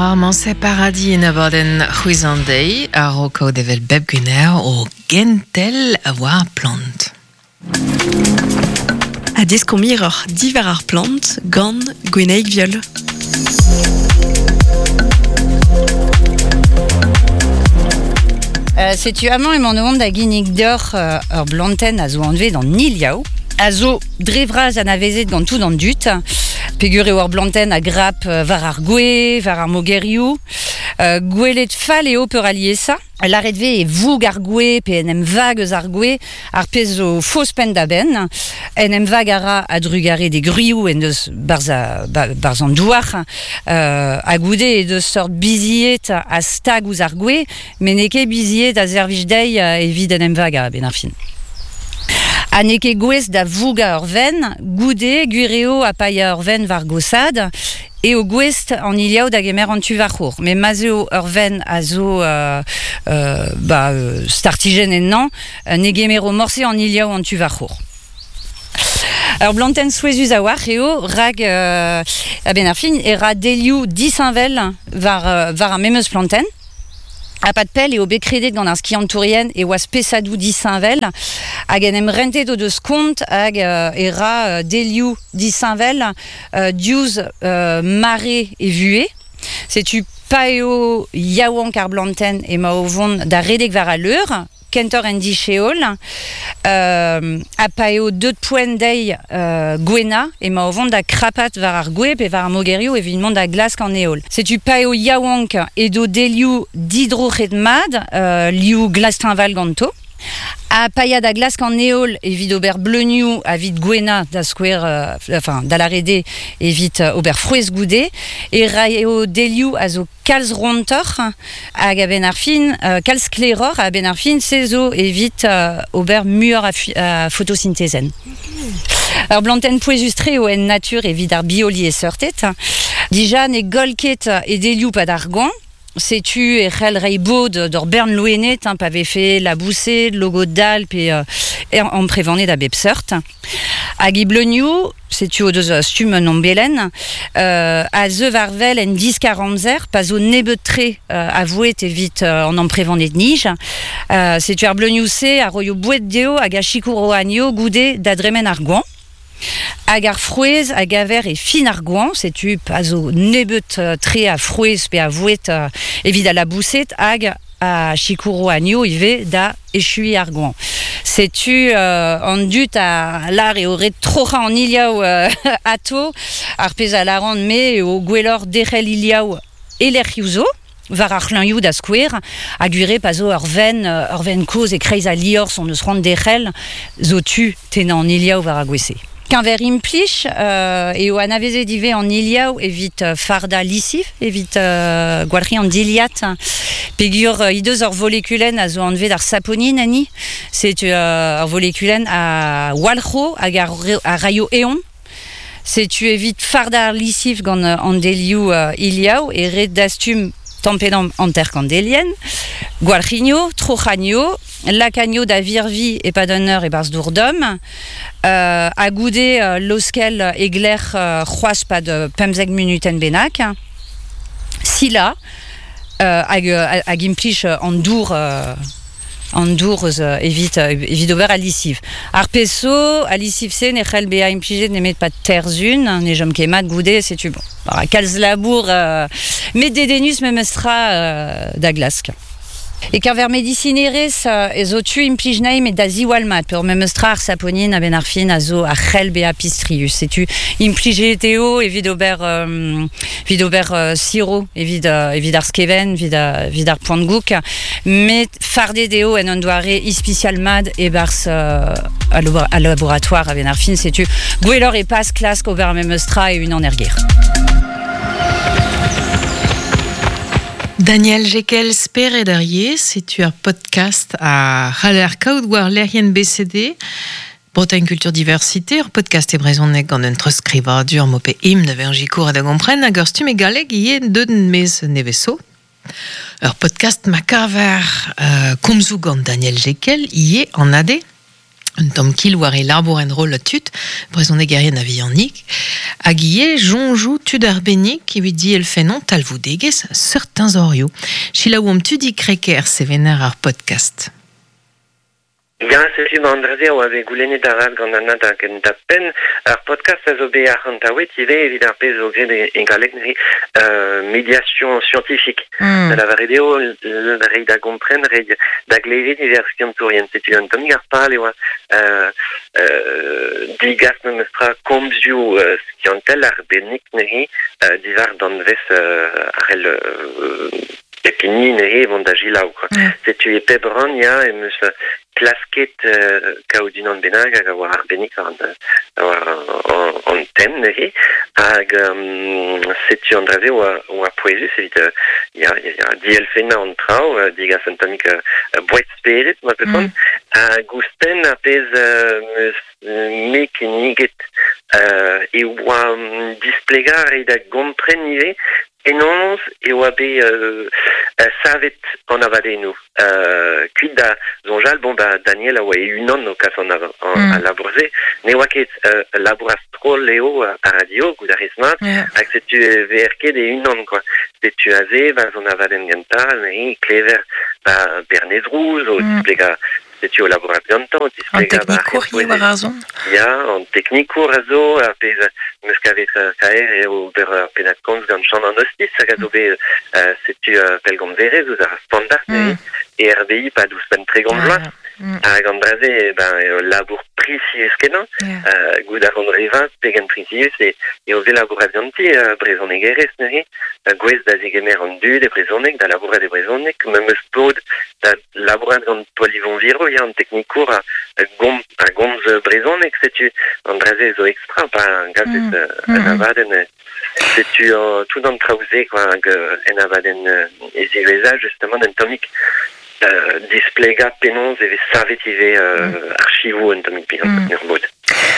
Ar paradis en abadenn c'hwez an deiz a-raok kaout evel bep gwener o gentel a war plant. Ha deskomp hiroc'h diwar ar plant gant Gwenaig Viol. Setu amañ emaon o vont da ginnig deoc'h ur blantenn a zo anvet an iliav, a zo dre vras anavezet gant tout an dud, peogwir eo ur blantenn a grap war ar gwez, war ar mogerioù. Gwelet fall eo peuraliesañ. Lâret 'vez e voug ar gwez pe en em vag eus ar gwez, ar pezh zo faos penn-da-benn. En em vag a ra a-drugarez d'e gwrioù en deus barzh an douar. Ha goude he deus seurt bizied a stag ouzh ar gwez, met n'eo ket bizied a servij dezhi evit en em vagañ a-benn ar fin. Ha n'eo ket gouest da vougañ ur venn, goude, gwir eo ha pa ya ur venn war gosaat, eo gouest an iliav da gemer an tu war-c'horr. Met ma'z eo ur venn a zo ba, startijenn ennañ, ne gemero morse an iliav an tu war-c'horr. Ur blantenn souezhus a-walc'h eo, rak a-benn ar fin e ra delioù disheñvel war, war ar memes plantenn. Ha pad pell eo bet kredet gant ar skiantourien e oa spesadoù disheñvel hag en em rentet o deus kont hag e ra delioù disheñvel diouzh mare e vuhez. Setu pa eo yaouank ar blantenn emañ o vont da redek war al leur. Kentoc'h en disheol, ha pa eo deuet poent dezhi gouennañ, emañ o vont da krapat war ar gwez pe war ar mogerioù evit mont da glask an heol. Setu pa eo yaouank edo delioù didroc'het mat, liv glas-teñval ganto. Ha pa ya da glask an heol evit ober bleunioù evit gouennañ, da skouer, enfin, da lâret eo evit ober frouezh goude, e raio delioù a zo kalz rontoc'h hag a-benn ar fin, kalz sklaeroc'h a-benn ar fin, se zo evit ober muioc'h a fotosintezenn. Ur blantenn pouezus-tre eo en natur evit ar bioliesseurted. Dija ne goll ket e delioù pad ar goañv, setu e c'hell reiñ bod d'ur bern loened pa vefe laboused, logod-dall pe amprevaned a bep seurt. Hag he bleunioù, setu o deus stumm un ombelenn, a zeu war-wel en diskar-amzer pa zo nebeut-tre a voued evit an amprevaned-nij. Setu ar bleunioù-se a roio boued dezho hag a sikouro anezho goude da dremen ar goañv. Hag ar frouezh a gaver e fin ar goañv, setu pa zo nebeut-tre a frouezh pe a voued evit al laboused hag a sikouro anezho ivez da echuiñ ar goañv. Setu an dud a lâr eo ret troc'hañ an iliav atô. Ar pezh a lâran-me eo gwelloc'h derc'hel iliav e lec'hioù zo, war ar c'hlañioù da skouer, ha gwir eo pa zo ur venn, ur venn kozh e-kreiz al liorzh hon eus c'hoant derc'hel, zo tu tennañ an iliav war ar gwez-se. Keñver implij eo anavezet ivez an iliav evit fardañ lisiv, evit gwalc'hiñ an dilhad, peogwir he deus ur volekulenn a zo anvet ar saponin enni. Setu ur volekulenn a walc'ho hag a raio eon. Setu evit fardañ ar lisiv gant an delioù iliav e ret dastum tamm-pe-damm hanter-kant delienn, gwalc'higno, troc'hagno, lakanio da virviñ e-pad un eur e-barzh dour domm, ha goude laoskel e glec'h c'hoazh 'pad 15 munutenn bennak, silañ hag hag implij an dour an dour eus evit evit ober al lisiv. Ar pezh zo, al lisiv-se ne c'hell bezañ implijet nemet 'pad terzhun, ne chom ket mat goude, setu bon. Kalz labour met dedennus memestra da glask. E-keñver medisinerezh ez zo tu implij anezhi met da ziwall mat peogwir memes tra ar saponin a-benn ar fin a zo a c'hell bezañ pistrius. Setu implijet eo evit ober evit ober siro evit evit ar skevent, evit evit ar poan-goûg met fardet eo en un doare ispisial mat e-barzh al laboratoire a-benn ar fin. Setu gwelloc'h e pas klask ober memes tra e-unan er gêr. Daniel Jekel, Spered ar yezh, setu ar podcast a c'haller kaout war lec'hienn BCD, Bretagne Culture Diversité, ur podcast e brezhoneg gant un treuzskrivadur m'ho pe im da vezañ sikour da gompren hag ur stumm e galleg ivez deut maez nevez zo. Ur podcast ma kaver komzoù gant Daniel Jekel ivez an AD. Un tamm kil war e labour en-roll tud, brezhonegerien a-vihanik, hag ivez soñjoù tud arbennik evit dielfennañ talvoudegezh seurt teñzorioù. Selaouomp Tudi Crequer, sevener ar podcast. Ya, setu ma an dra-se a oa bet goulennet avat gant Anna da gentañ-penn. Ar podcast a zo bet arc'hantaouet ivez evit ar pezh zo graet e galleg neuze, médiation scientifique. Da lavaret eo reiñ da gompren, reiñ da glevet ivez ar skiantourien. Setu un tammig ar pal e oa degas memestra komzioù skiantel arbennik neuze diwar danvez ar c'hell pep hini neuze vont da selaou quoi. Setu e pep rann ya em eus klasket kaout unan bennak hag a oa arbennik war an tem neuze hag setu an dra-se oa pouezus evit ya ya dielfennañ an traoù degas un tammig boued spered ma peus hag ouzhpenn ar pezh 'm eus me kinniget e oa displegañ reiñ da gompren ivez penaos e oa bet savet an abadennoù. Kuit da soñjal, bon, ba Daniel a oa e-unan o kas an, al labour-se. Ne oa ket ul labour a-stroll eo ar radio, goût a rez mat, hag setu e veer ket e-unan, quoi. Setu aze, ba an abadenn gentañ, neuze klever ba Bernez Rouz o displegañ setu o labourat gantañ, o An displegañ ba teknikour ivez war ar son? Ya, an teknikour a zo, ar pezh 'm eus kavet kaer eo ober ur pennad-komz gant Chann an Hostis hag a zo bet setu pellgomzerez ouzh ar standard e RBI pad ouzhpenn 30 vloaz. Hag an dra-se, ben, eo labour prisius-kenañ. Goût a ran re vat pegen prisius eo bet labourat ganti brezhonegerez neuze, gouest da zegemer an dud e brezhoneg, da labourat e brezhoneg. Ma 'm eus pod da labourat gant Paul-Yvon Viro, ya, an teknikour a gomz brezhoneg, setu an dra-se zo ekstra pa gavez un abadenn. Setu tout an traoù-se quoi, hag en abadenn e ziwezhañ justement un tammig displegañ penaos e vez savet ivez archivoù un tammig bihan en ur mod.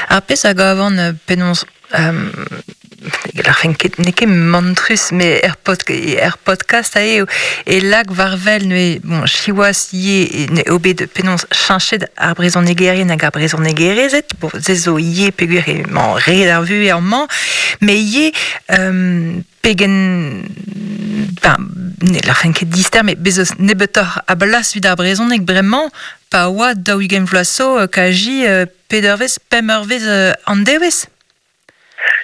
Ar pezh a gavan penaos ne larfen ket n'eo ket mantrus met er pod er podcast eo e lak war-wel neuze bon siwazh ivez eo bet penaos cheñchet ar brezhonegerien hag ar brezhonegerezed bon se zo ivez peogwir emañ ret ar vuhez amañ met ivez pegen ben ne larfen ket dister met bez' eus nebeutoc'h a blas evit ar brezhoneg bremañ pa oa 40 vloaz zo kazi peder eurvezh pemp eurvezh an devezh.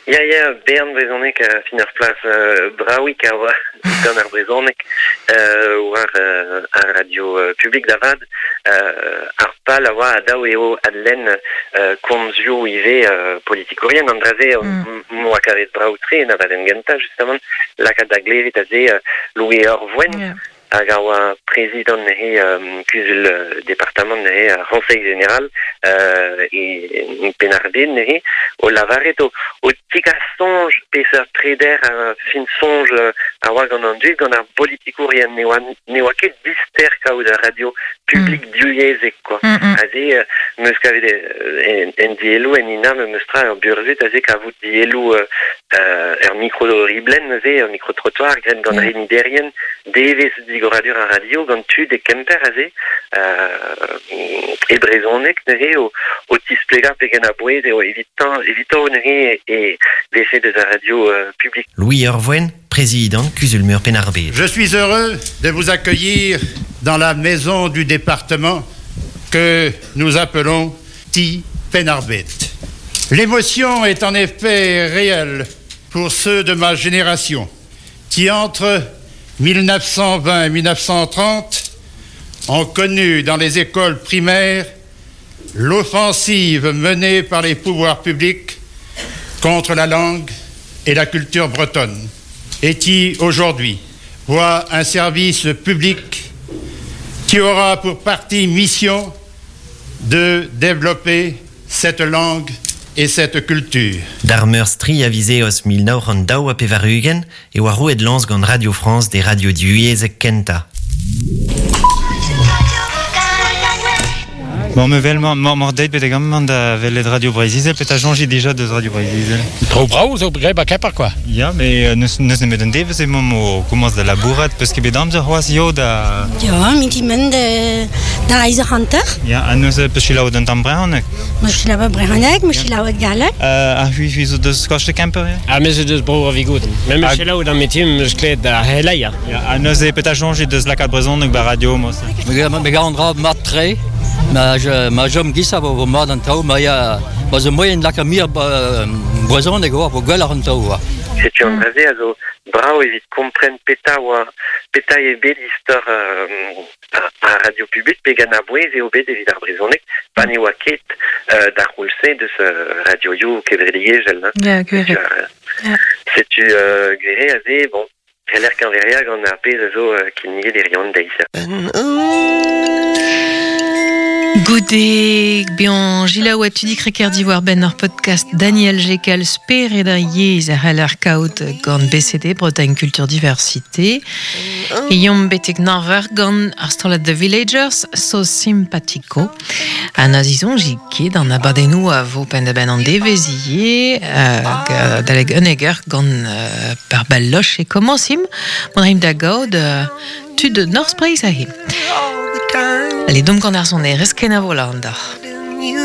Ya, ya, bern brezhoneg a fin ur plas bravik a oa gant ar brezhoneg war ar radio publik da vat. Ar pal a oa dav eo adlenn komzioù ivez politikourien. An dra-se m'oa kavet brav-tre en abadenn gentañ justement lakaat da glevet aze Louis Orvoen. Hag a oa prezidant he kuzul departamant neuze ar C'honseil General e Penn-ar-Bed neuze o lavaret o tigas soñj peseurt preder fin soñj a oa gant an dud gant ar bolitikourien ne oa ket dister kaout ur radio publik divyezhek quoi. Aze 'm eus kavet en dielloù en ina memes tra ur burzhud aze kavout dielloù ur mikro-riblenn neuze ur mikro-trottoir graet gant reniderien devezh digoradur ar radio gant tud e Kemper aze e brezhoneg neuze o tisplegañ pegen a-bouez eo evitañ evito neuze e vefe deus ar radio publik. Louis Orvoen, président Kuzul-Meur Penn-ar-Bed. Je suis heureux de vous accueillir dans la maison du département que nous appelons Ti Penn-ar-Bed. L'émotion est en effet réelle pour ceux de ma génération qui, entre 1920 et 1930, ont connu dans les écoles primaires l'offensive menée par les pouvoirs publics contre la langue et la culture bretonne et qui, aujourd'hui, voit un service public qui aura pour partie mission de développer cette langue et cette culture. D'ar Meurzh tri a viz Eost 1982 e oa roet lañs gant Radio France d'e radio divyezhek kentañ. Bon, me vel mor deit betek amañ da welet Radio Breizh-Izel, petra soñjit dija deus Radio Breizh-Izel? Tro brav zo graet ba Kemper, quoi. Ya, mais n'eus nemet un devezh emaomp o komañs da labourat, peus ket bet amzer c'hoazh yo da... Ya, minti men da eizh hanter. Ya, ha neuze peus selaouet un tamm brezhoneg? Ma selaouet brezhoneg, ma selaouet galleg. Ha c'hwi, c'hwi zo deus Skoach de Kemper, ya? Ha me zo deus bro ar Vigouden. Me meus selaouet an metim, meus klevet ar c'heleier. Ya, ha neuze petra soñjit deus lakaat brezhoneg ba radio, mod-se? Me gav an dra mat-tre. Ma chom giz-se vo mat an traoù, ma ya ma zo moaien lakaat muioc'h brezhoneg oa vo gwelloc'h an traoù oa. Setu an dra-se a zo brav evit kompren petra oa petra eo bet istor ar radio publik pe gant ar bouez eo bet evit ar brezhoneg pa ne oa ket d'ar c'houlz-se deus radioioù kevredigezhel. Ya, gwir eo. Setu gwir eo aze, bon, C'heller keñveriañ gant ar pezh a zo kinniget hiziv an deiz. Goude bezañ selaouet Tudi Kreker diwar-benn ur podcast Daniel Jekel Spered ar yezh a c'heller kaout gant BCD Bretagne Culture Diversité. E yomp betek Naver gant ar strollad The Villagers So Simpatico. Ha na zisoñjit ket an abadennoù a vo penn-da-benn an devezh ivez, hag adalek unnek eur gant par Balloch e komañsimp. Mont a raimp da gaout tud Norzh Breizh aze. Allez, domp gant ar sonerezh, kenavo lâran deoc'h.